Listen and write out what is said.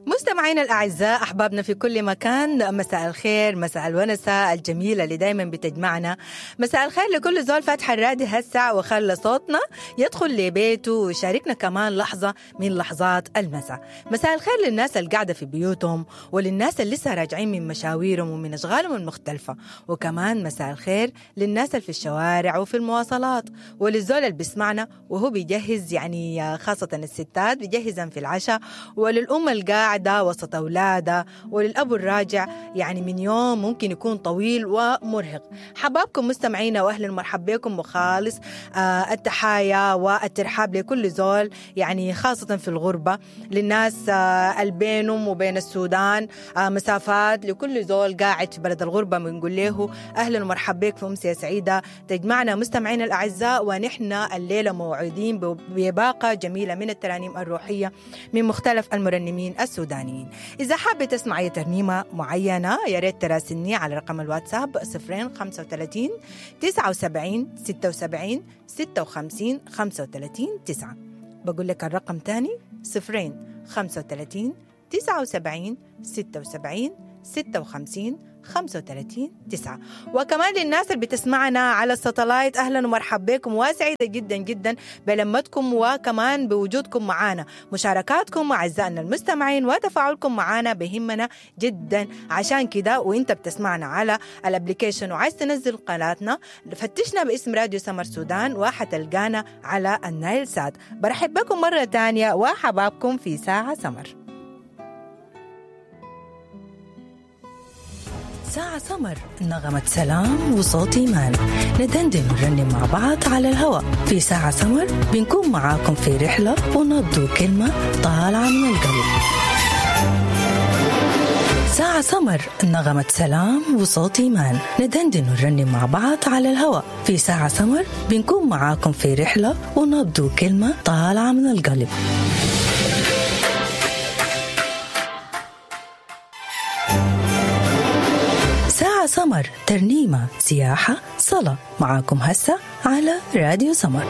مستمعينا الأعزاء، أحبابنا في كل مكان، مساء الخير، مساء الونسة الجميلة اللي دايما بتجمعنا. مساء الخير لكل زول فاتح الراديو هسه وخلى صوتنا يدخل لبيته ويشاركنا كمان لحظة من لحظات المساء. مساء الخير للناس اللي قاعدة في بيوتهم وللناس اللي لسه راجعين من مشاويرهم ومن أشغالهم المختلفة، وكمان مساء الخير للناس اللي في الشوارع وفي المواصلات، وللزول اللي بيسمعنا وهو بيجهز، يعني خاصة الستات بيجهزن في العشاء، وللأم القاعدة وسط أولادها، وللأب الراجع يعني من يوم ممكن يكون طويل ومرهق. حبابكم مستمعينا وأهلا ومرحبا بكم، وخالص التحايا والترحاب لكل زول، يعني خاصة في الغربة، للناس البينهم وبين السودان مسافات، لكل زول قاعد في بلد الغربة بنقول له أهلا ومرحبا بك في أمسية سعيدة تجمعنا مستمعينا الأعزاء. ونحن الليلة موعودين بباقة جميلة من الترانيم الروحية من مختلف المرنمين السودانيين. إذا حابة تسمعي ترنيمة معينة يا ريت تراسلني على رقم الواتساب 035 79 76 56 35 9. بقول لك الرقم تاني 035 79 76 56 35 9. وكمان للناس اللي بتسمعنا على الساتلايت، أهلا ومرحبا بكم، وسعيدة جدا جدا بلمتكم وكمان بوجودكم معانا، مشاركاتكم أعزائنا المستمعين وتفاعلكم معانا بهمنا جدا. عشان كده وانت بتسمعنا على ال application وعايز تنزل قناتنا، فتشنا باسم راديو سمر سودان وحتلقانا على النايل سات. برحب بكم مرة تانية وحبابكم في ساعة سمر. ساعة سمر، نغمة سلام وصوت إيمان، ندندن ونرنم مع بعض على الهواء. في ساعة سمر بنكون معاكم في رحلة ونبض كلمة طالعة من القلب. ساعة سمر، نغمة سلام وصوت إيمان، ندندن ونرنم مع بعض على الهواء. في ساعة سمر بنكون معاكم في رحلة ونبض كلمة طالعة من القلب. سمر، ترنيمة، سياحة، صلاة، معاكم هسه على راديو سمر.